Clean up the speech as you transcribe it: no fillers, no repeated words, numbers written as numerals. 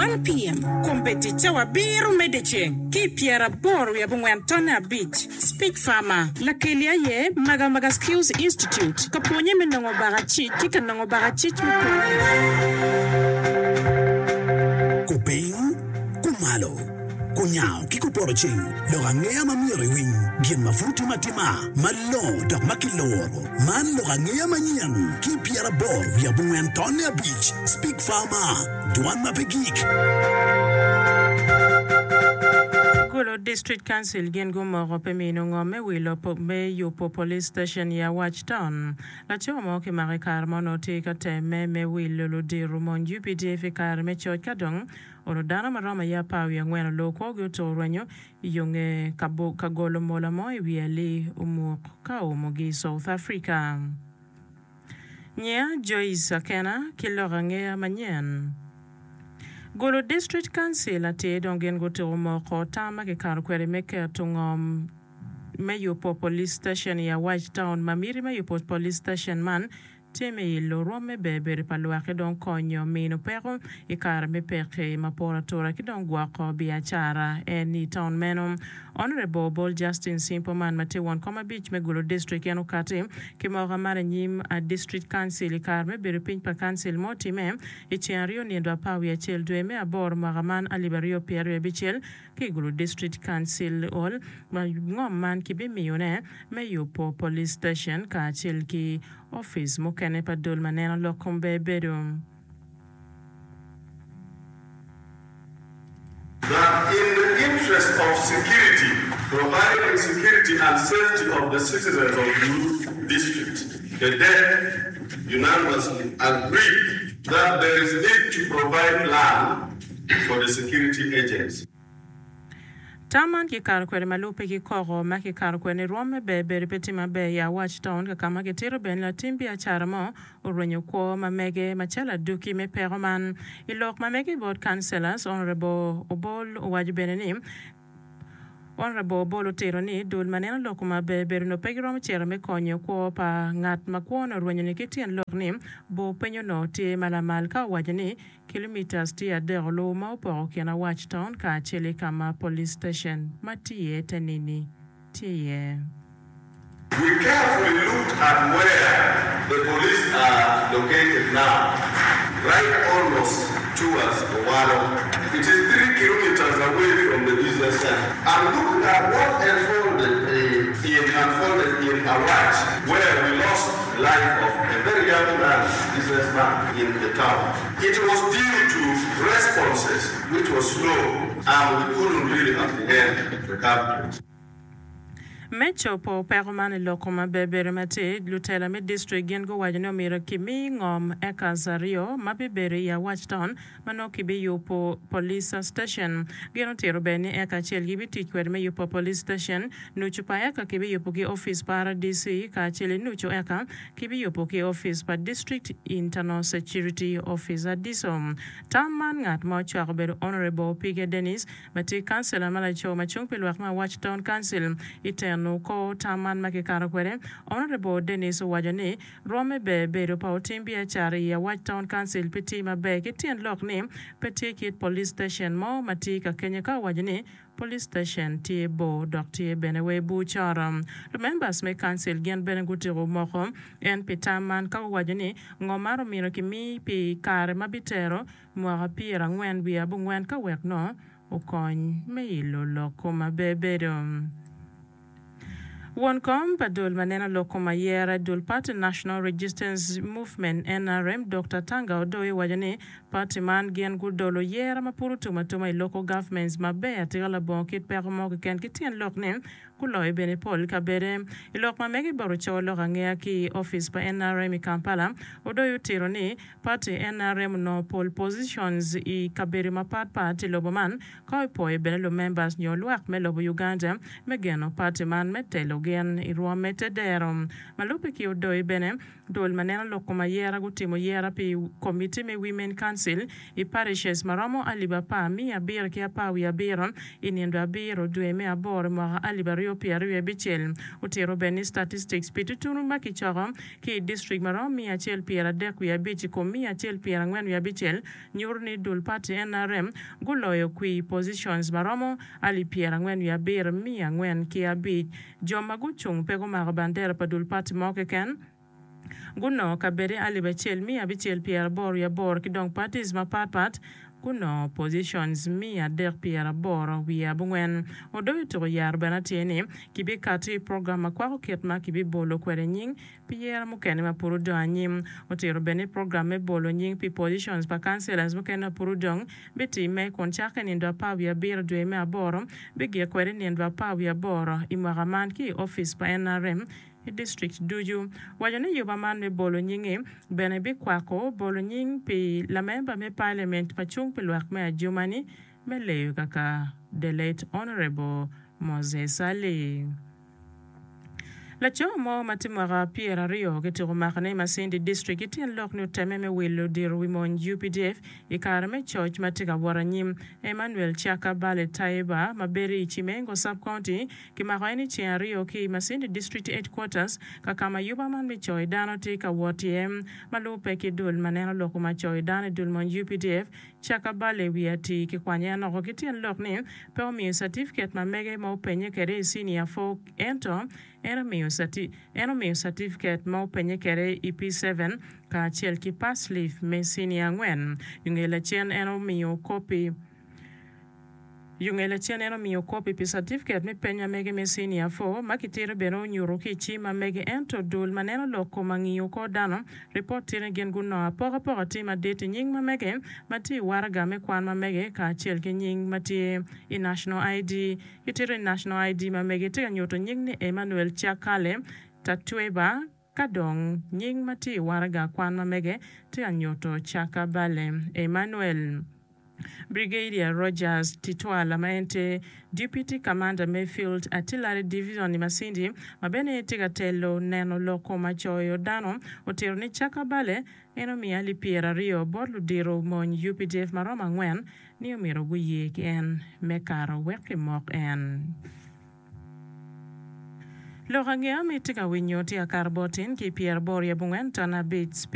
1 PM, Kombeddi cawa abiro me dyeceng ki i pyeraboro wiye abongwen tonne abic. Speech Farmer, Lakeli aye Maga Maga Skills Institute ka pwonye me nongo bakacic ki ka nongo bakacic me pwonye. Kupiny, kumalo, kunyango ki kupoto ceng, lok angeya ma myero iwiny, gin ma pud timo atima, malongo dok ma kiluro. Man lok angeya manyen ki 84 tonne abic, Speak Farmer, Dwan ma pe gik. Gulu District Council gin gumoko pe mino ngom me wilo me yubo Police Station i Awac Town. Laco mo kimako i kare ma onongo tye ka temme me wilo ludito mony UPDF i kare me coc ka dong onongo dano ma romo aye apar wiye angwen oloo kwogi otur rwenyo i yo nge ka golo mola mo i wi alii omuk ka oumogi i South Africa. Nyinga Joyce Akena ki lok angeya manyen. Gulu District Council atir dong gin gutuko moko tam ma kikato kwede me keto ngom me yubo Police Station i Awac Town ma miti me yubo Police Station man tye me ilo rwom me ber bedo pa lwak ki dong konyo mino peko i kare me pekki ma poto atura ki dong gwoko biacara en i taun meno. Honourable Obol Justin Simple man ma tye won kom abic me Gulu District en okati ki moka man anyim District Council i kare me bedo piny pa Council ma otime i ceng aryo nindo apar wiye acel dwe me aboro mwaka man alip aryo pyeraryo abicel ki i Gulu District Council Hall ma ngom man kibimiyone me yubo Police Station kacel ki opic mukene pa dul ma neno lok kom ber bedo. That in the interest of security, providing security and safety of the citizens of Gulu district, the DEC unanimously agreed that there is need to provide land for the security agents. Tam man kikato kwede ma lubbe ki koko ma kikato kwede ni rwom me ber bedo pe tye maber i Awac Town ka ka ma kitito bene latim biacara mo orwenyo kwo ma mege macalo aduki me peko man. I lok ma mege bot Councillors, Honourable Obol owaco bene ni Honourable Obol otito ni dul ma neno lok ma ber bedo onongo pe giromo cito me konyo kwo pa ngat ma kwone orwenyo ni ki tyen lok ni bor piny onongo tye ma lamal ka owaco ni Kilometres tye adek olu ma opoko kin Awac Town kacel ki ka ma Police Station ma tye iye te nini tye iye. We carefully looked at where the police are located now, right almost towards Owalo. It is 3 kilometres away from the business centre. And looked at what unfolded in unfolded in Awac where we lost the life of a very young man, businessman in the town. It was due to responses which was slow and we couldn't really apprehend the culprit. Me cobo peko man i lok kom maber bedo matir, lutela me distrik gin guwaco ni omyero kimi ngom acres aryo ma bibedo i Awac Town ma nongo kibiyubo Police Station. Gin otito bene ni eka acel gibitic kwede me yubo Police Station, nucu pa eka kibiyubo ki opic pa RDC kacel ki nucu eka kibiyubo ki opic pa District Internal Security Officer, DISO. Tam man ngat ma ocwako obedo Honourable Opige Dennis ma tye kancila ma laco ma cung pi lwak me Awac Town Council i teno kor tam man ma kikato kwede. Honourable Dennis owaco ni rwomme ber bedo pa otim biacara i Awac Town Council pe tye maber ki tyen lok ni pe tye kit police station mo ma tye ka kenyo ka owaco ni police station tye bor dok tye bene wa i bur coro. Lumembers me council gin bene gutiko moko en pi tam man ka guwaco ni ngo man omyero kimi pi kare ma bitero Mwaka pyerangwen wiye abongwen ka wek nongo okony me ilo lok kom aber bedo. Won kom pa dul ma neno lok kom ayera i dul party National Registance Movement, NRM, Dokta Tanga Odoi owaco ni party man gin gudolo yera ma pud otum atuma i local governments maber atika labongo kit peko mo keken ki tyen lok ni Guloyo bene pol kabede. I lok ma mege bot ocoyo lok angeya ki i opic pa nrm i Kampala, Odoi otito ni party nrm onongo pol positions i kabedo mapat pat i lobo man ka opwoyo bene lumembers nyo lwak me lobo Uganda me geno party man me telo gin i rwom me tedero. Ma lubbe ki Odoi bene. Dul ma neno lok kom ayera gutimo yera pi komiti me Women Council i parishes ma romo alip apar 717 i nindo abiro dwe me aboro i mwaka 2026. Otito bene ni statistics pi tutunu ma kicoko ki i distrik ma romo 135 i kom 146 nyuto ni dul party nrm guloyo kwi positions ma romo alip 47 405. Jo ma gucung pe gumako bandera pa dul pati mo keken gunongo kabede alip acel 688 ki dong parties mapat pat gunongo positions 384. Odoyo tuko yaro bene atir ni kibikati i program ma kwako kit ma kibibolo kwede nying pi yero mukene ma pud odong anyim. Otito bene ni program me bolo nying pi positions pa councillors mukene ma pud odong bitimme kun cakke i nindo 17 dwe me aboro bigik kwede i nindo 18 i mwaka man ki i opic pa nrm i district ducu. Waco ni yuba man me bolo nyingi bene bikwako bolo nying pi lamemba me parliament ma cung pi lwak me Adjumani me leyo kaka the late Honourable Moses Ali. Laco mo ma tye mwaka 20 kitiko makone i Masindi District ki tyen lok ni otemme me wilo diro wi mony UPDF i kare me coc ma tye ka wot anyim. Emmanuel Chaka Bale Taiba ma bedo i Cimengo Sub-County kimako en i ceng aryo ki i Masindi District Headquarters ka ka ma yuba man me coyo dano tye ka wot iye ma lubbe ki dul ma neno lok ma coyo dano i dul mony UPDF Chaka Bale wiye atir kikwanye en oko ki tyen lok ni pe omiyo catifiket ma mege ma openye kwede i Senior Four ento en omiyo en omiyo catifiket ma openye kwede i P7 kacel ki pass leaf me Senior angwen. Yunge lacen en omiyo kopi Yunge lacen en omiyo kopi pi catifiket me peny ma mege me Senior Four ma kitito bene onyuto ki i cim ma mege ento dul ma neno lok kom angiyo kor dano ripot tye ni gin gunongo apokapoka tye madit i nying ma mege ma tye i waraga me kwan ma mege kacel ki nying ma tye i National ID. Gitito ni National ID ma mege tye ka nyuto nying ni Emmanuel Chakale Tatweba ka dong nying ma tye i waraga kwan ma mege tye ka nyuto Chakabale Emmanuel. Brigadier Rogers Titwala ma en tye Deputy Commander me Field Artillery Division i Masindi ma bene tye ka telo neno lok kom acoyo dano otito ni Chakabale en omiyo alip 20 bot ludito mony UPDF ma romo angwen ni omyero guye ki en me kato wek kimok en. Lok angeya ma itye ka winyo tye akato bot in ki 84.5.